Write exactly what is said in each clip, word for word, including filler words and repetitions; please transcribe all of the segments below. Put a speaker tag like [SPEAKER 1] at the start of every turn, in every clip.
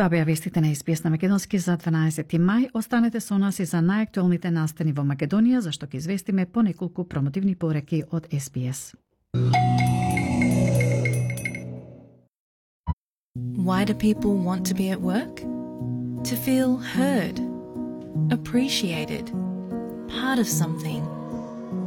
[SPEAKER 1] Тоа беа вестите на Ес Би Ес на македонски за дванаесети мај. Останете со нас и за најактуелните настани во Македонија, зашто ќе известиме по неколку промотивни пореки од Ес Би Ес.
[SPEAKER 2] Why do people want to be at work? To feel heard, appreciated, part of something,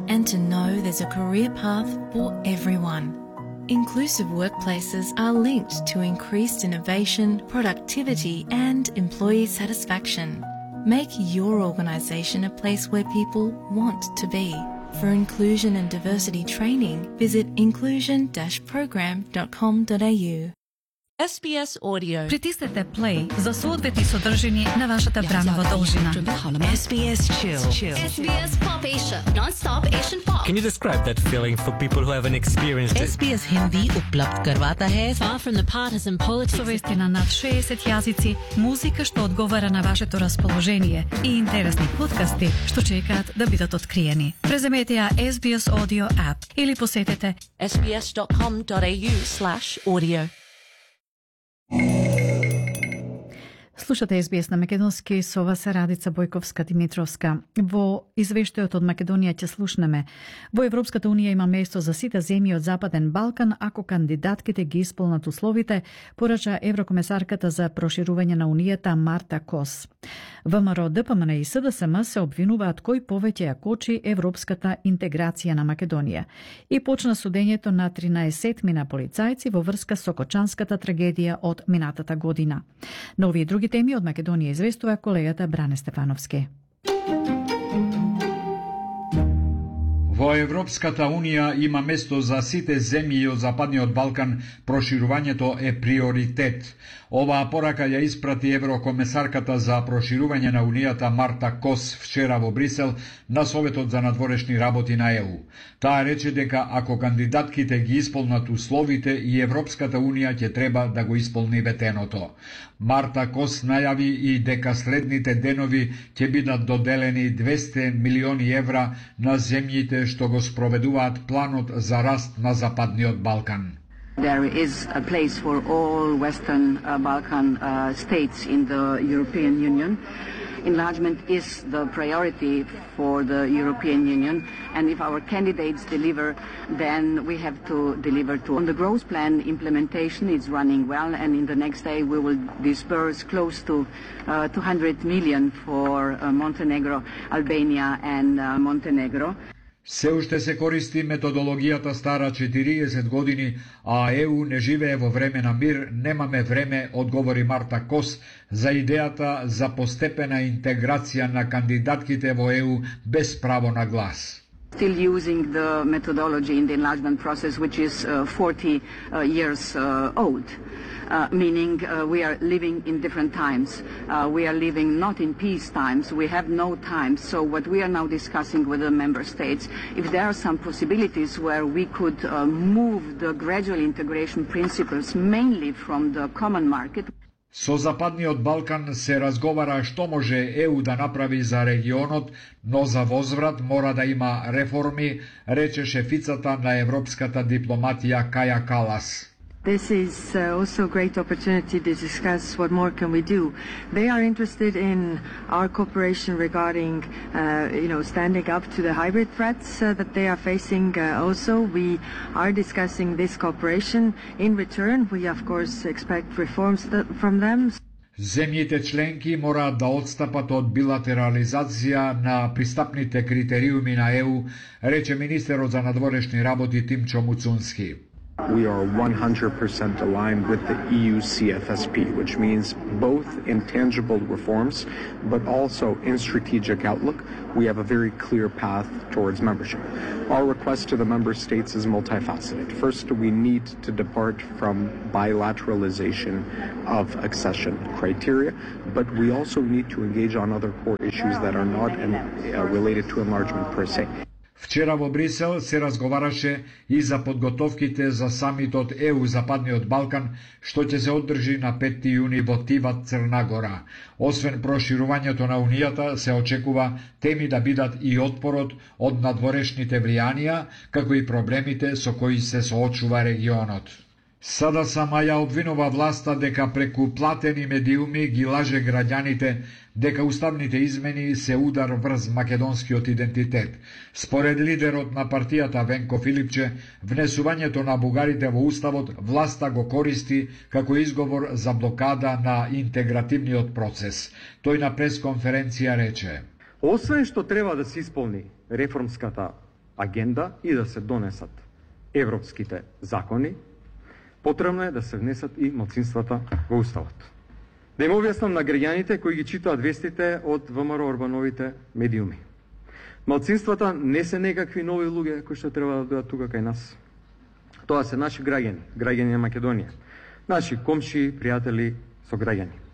[SPEAKER 2] and to know there's a career path for everyone. Inclusive workplaces are linked to increased innovation, productivity, and employee satisfaction. Make your organisation a place where people want to be. For inclusion and diversity training, visit inclusion dash program dot com dot a u.
[SPEAKER 3] Ес Би Ес Audio.
[SPEAKER 1] Притиснете play за соодветни содржини на вашата бранова должина.
[SPEAKER 3] Ес Би Ес Chill.
[SPEAKER 4] Ес Би Ес Pop Asia, non-stop Asian pop.
[SPEAKER 5] Can you describe that feeling for people who haven't experienced it?
[SPEAKER 3] Ес Би Ес Hindi उपलब्ध करवाता है far from the partisan politics.
[SPEAKER 1] Со вести на над шеесет јазици, музика што одговара на вашето расположение и интересни подкасти што чекаат да бидат откриени. Преземете ја Ес Би Ес Audio app или посетете
[SPEAKER 3] ес би ес dot com dot a u slash audio.
[SPEAKER 1] Слушате Ес Би Ес на македонски, со вас е Радица Бојковска-Димитровска. Во извештајот од Македонија ќе слушнеме: во Европската унија има место за сите земји од Западен Балкан ако кандидатките ги исполнат условите, порача еврокомесарката за проширување на унијата Марта Кос. ВМРО, Д П М Н и С Д С М се обвинуваат кој повеќе ја кочи европската интеграција на Македонија. И почна судењето на тринаесетмина полицајци во врска со кочанската трагедија од минатата година. На овие други теми од Македонија известува колегата Бране Стефановски.
[SPEAKER 6] Во Европската Унија има место за сите земји од Западниот Балкан, проширувањето е приоритет. Оваа порака ја испрати еврокомесарката за проширување на Унијата Марта Кос вчера во Брисел на Советот за надворешни работи на Е У. Таа рече дека ако кандидатките ги исполнат условите и Европската Унија ќе треба да го исполни ветеното. Марта Кос најави и дека следните денови ќе бидат доделени двесте милиони евра на земјите што го спроведуваат планот за раст на Западниот Балкан.
[SPEAKER 7] There is a place for all Western uh, Balkan uh, states in the European Union. Enlargement is the priority for the European Union, and if our candidates deliver, then we have to deliver too. On the growth plan, implementation is running well, and in the next day we will disburse close to uh, two hundred million for uh, Montenegro, Albania and uh, Montenegro.
[SPEAKER 6] Се уште се користи методологијата стара четириесет години, а Е У не живее во време на мир, немаме време, одговори Марта Кос за идејата за постепена интеграција на кандидатките во Е У без право на глас.
[SPEAKER 7] Still using the methodology in the enlargement process, which is uh, forty uh, years uh, old. Uh, meaning uh, we are living in different times. Uh, we are living not in peace times. We have no time. So what we are now discussing with the member states, if there are some possibilities where we could uh, move the gradual integration principles mainly from the common market.
[SPEAKER 6] Со Западниот Балкан се разговара што може Е У да направи за регионот, но за возврат мора да има реформи, рече шефицата на европската дипломатија Каја Калас.
[SPEAKER 8] This is uh, also a great opportunity to discuss what more can we do. They are interested in our cooperation regarding, uh, you know, standing up to the hybrid threats uh, that they are facing. Uh, also, we are discussing this cooperation. In return, we of course expect reforms th- from them.
[SPEAKER 6] Земјите членки мораат да одстапат од билатерализација на пристапните критериуми на Е У, рече министерот за надворешни работи Тимчо Муцунски.
[SPEAKER 9] We are one hundred percent aligned with the E U C F S P, which means both in tangible reforms, but also in strategic outlook, we have a very clear path towards membership. Our request to the member states is multifaceted. First, we need to depart from bilateralization of accession criteria, but we also need to engage on other core issues that are not in, uh, related to enlargement per se.
[SPEAKER 6] Вчера во Брисел се разговараше и за подготовките за самитот Е У Западниот Балкан, што ќе се одржи на петти јуни во Тиват, Црна Гора. Освен проширувањето на Унијата, се очекува теми да бидат и отпорот од надворешните влијанија, како и проблемите со кои се соочува регионот. СДСМ ја обвинува власта дека преку платени медиуми ги лаже граѓаните дека уставните измени се удар врз македонскиот идентитет. Според лидерот на партијата Венко Филипче, внесувањето на бугарите во уставот власта го користи како изговор за блокада на интегративниот процес. Тој на пресконференција рече:
[SPEAKER 9] Освен што треба да се исполни реформската агенда и да се донесат европските закони, потребно е да се внесат и малцинствата во уставот. Да им објаснам на граѓаните кои ги читаат вестите од ВМРО Орбановите медиуми. Малцинствата не се некакви нови луѓе кои што треба да дојдат тука кај нас. Тоа се наши граѓани, граѓани на Македонија, наши комши, пријатели, сограѓани.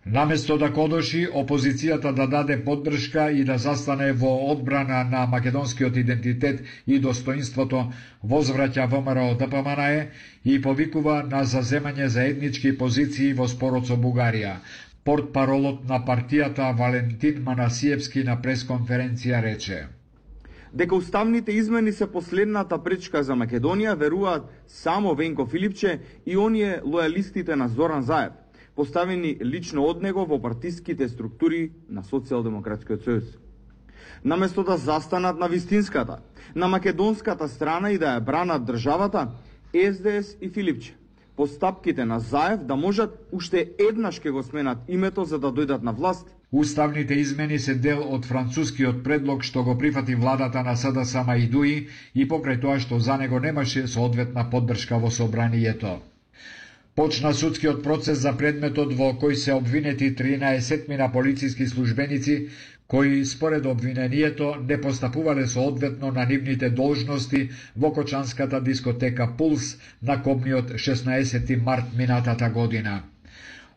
[SPEAKER 6] Наместо да кодоши опозицијата да даде поддршка и да застане во одбрана на македонскиот идентитет и достоинството, возвраќа ВМРО ДПМНЕ и повикува на заземање заеднички позиции во спорот со Бугарија. Портпаролот на партијата Валентин Манасиевски на пресконференција рече:
[SPEAKER 10] дека уставните измени се последната пречка за Македонија, веруваат само Венко Филипче и оние лојалистите на Зоран Заев, поставени лично од него во партиските структури на Социјалдемократскиот сојуз. Наместо да застанат на вистинската, на македонската страна и да ја бранат државата, СДС и Филипче, по стапките на Заев да можат уште еднаш ке го сменат името за да дојдат на власт.
[SPEAKER 6] Уставните измени се дел од францускиот предлог што го прифати владата на СДСМ и ДУИ и покрај тоа што за него немаше соодветна поддршка во собранието. Почна судскиот процес за предметот во кој се обвинети тринаесет мина полициски службеници кои според обвинението не постапувале соодветно на нивните должности во кочанската дискотека Пулс на кобниот шеснаесети март минатата година.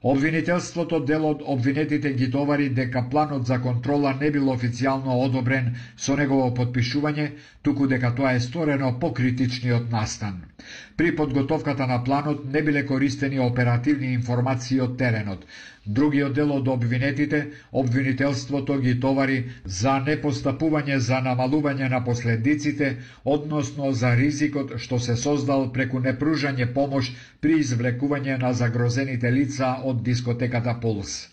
[SPEAKER 6] Обвинителството дел од обвинетите ги товари дека планот за контрола не бил официјално одобрен со негово подпишување, туку дека тоа е сторено по критичниот настан. При подготовката на планот не биле користени оперативни информации од теренот. Другиот дел од обвинетите, обвинителството ги товари за непостапување за намалување на последиците, односно за ризикот што се создал преку непружање помош при извлекување на загрозените лица од дискотеката Пулс.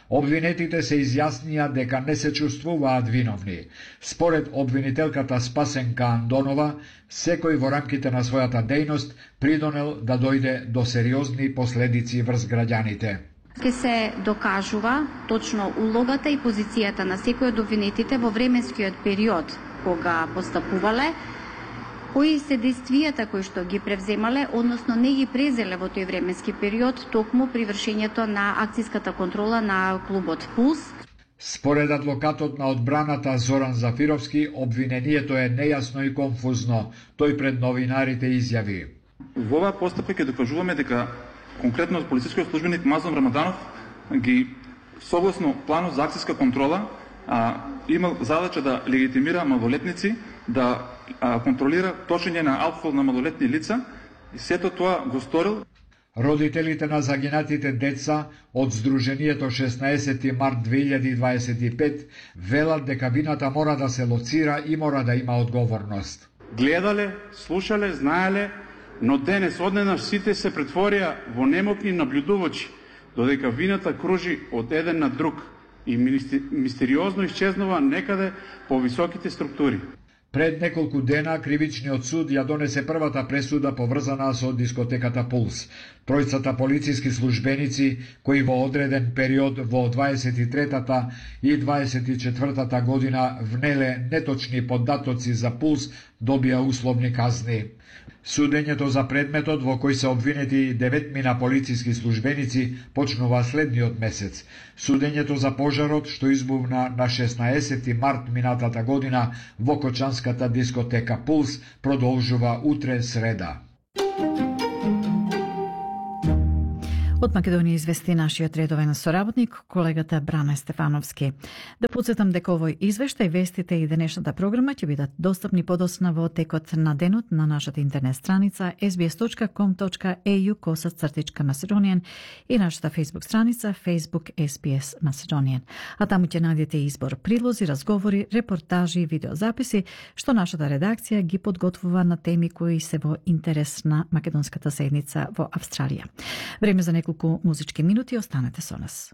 [SPEAKER 6] Обвинетите се изјаснија дека не се чувствуваат виновни. Според обвинителката Спасенка Андонова, секој во рамките на својата дејност придонел да дојде до сериозни последици врз граѓаните.
[SPEAKER 11] Ке се докажува точно улогата и позицијата на секој од обвинетите во временскиот период кога постапувале, кои се действијата кои што ги превземале, односно не ги презеле во тој временски период, токму при вршењето на акцијската контрола на клубот Пулс.
[SPEAKER 6] Според адвокатот на одбраната Зоран Зафировски, обвинението е нејасно и конфузно. Тој пред новинарите изјави:
[SPEAKER 12] Во оваа постапка ќе докажуваме дека конкретно полицискиот службеник Мазлум Рамаданов ги согласно планот за акцијска контрола а, имал задача да легитимира малолетници, да а, контролира точење на алкохол на малолетни лица и сето тоа го сторил.
[SPEAKER 6] Родителите на загинатите деца од Сдруженијето шеснаесети март две илјади дваесет и пет велат дека вината мора да се лоцира и мора да има одговорност.
[SPEAKER 13] Гледале, слушале, знаеле, но денес одненаш сите се претворија во немокни наблюдувачи, додека вината кружи од еден на друг и мистериозно исчезнува некаде по високите структури.
[SPEAKER 6] Пред неколку дена кривичниот суд ја донесе првата пресуда поврзана со дискотеката Пулс. Тројцата полициски службеници кои во одреден период во дваесет и третата и дваесет и четвртата година внеле неточни податоци за Пулс добија условни казни. Судењето за предметот во кој се обвинети деветмина полициски службеници почнува следниот месец. Судењето за пожарот што избувна на шеснаесети март минатата година во кочанската дискотека Пулс продолжува утре среда.
[SPEAKER 1] Од Македонија извести нашиот редовен соработник, колегата Бране Стефановски. Да подсетам дека овој извештај, вестите и денешната програма ќе бидат достапни подоцна во текот на денот на нашата интернет страница ес би ес точка ком точка ей ю косацртичка Macedonian и нашата Facebook страница Facebook ес би ес Macedonian. А таму ќе најдете избор прилози, разговори, репортажи и видеозаписи што нашата редакција ги подготвува на теми кои се во интерес на македонската заедница во Австралија. Време за неколку музички минути, останете со нас.